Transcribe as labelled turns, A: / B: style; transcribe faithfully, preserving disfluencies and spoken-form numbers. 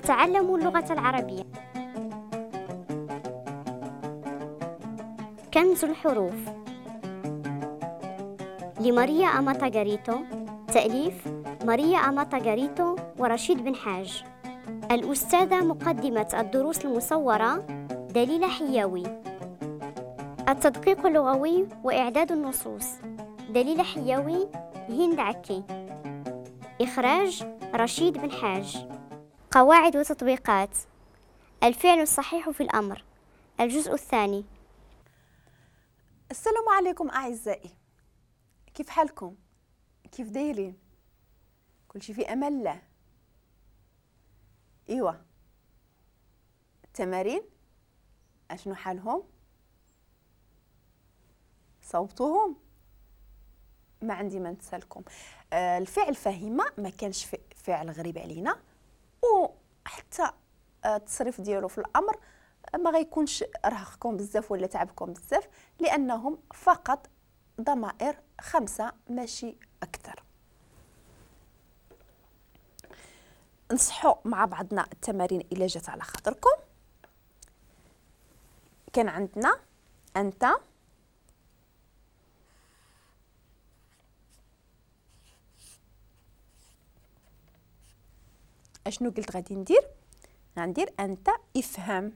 A: نتعلم اللغة العربية. كنز الحروف لماريا أماتا غاريتو، تأليف ماريا أماتا غاريتو ورشيد بن حاج. الأستاذة مقدمة الدروس المصورة دليلة حياوي. التدقيق اللغوي وإعداد النصوص دليلة حياوي، هند عكي. إخراج رشيد بن حاج. قواعد وتطبيقات الفعل الصحيح في الأمر، الجزء الثاني.
B: السلام عليكم أعزائي، كيف حالكم؟ كيف دايرين؟ كل شيء في أمان الله. إيوا التمارين أشنو حالهم؟ صوبتوهم؟ ما عندي ما نتسالكم. آه الفعل فهمة ما كانش فعل غريب علينا، وحتى التصريف ديالو في الامر ما غيكونش رهقكم بزاف ولا تعبكم بزاف، لانهم فقط ضمائر خمسة ماشي اكثر. نصحوا مع بعضنا التمارين الا جات على خاطركم. كان عندنا انت، اشنو قلت غادي ندير؟ غندير انت افهم.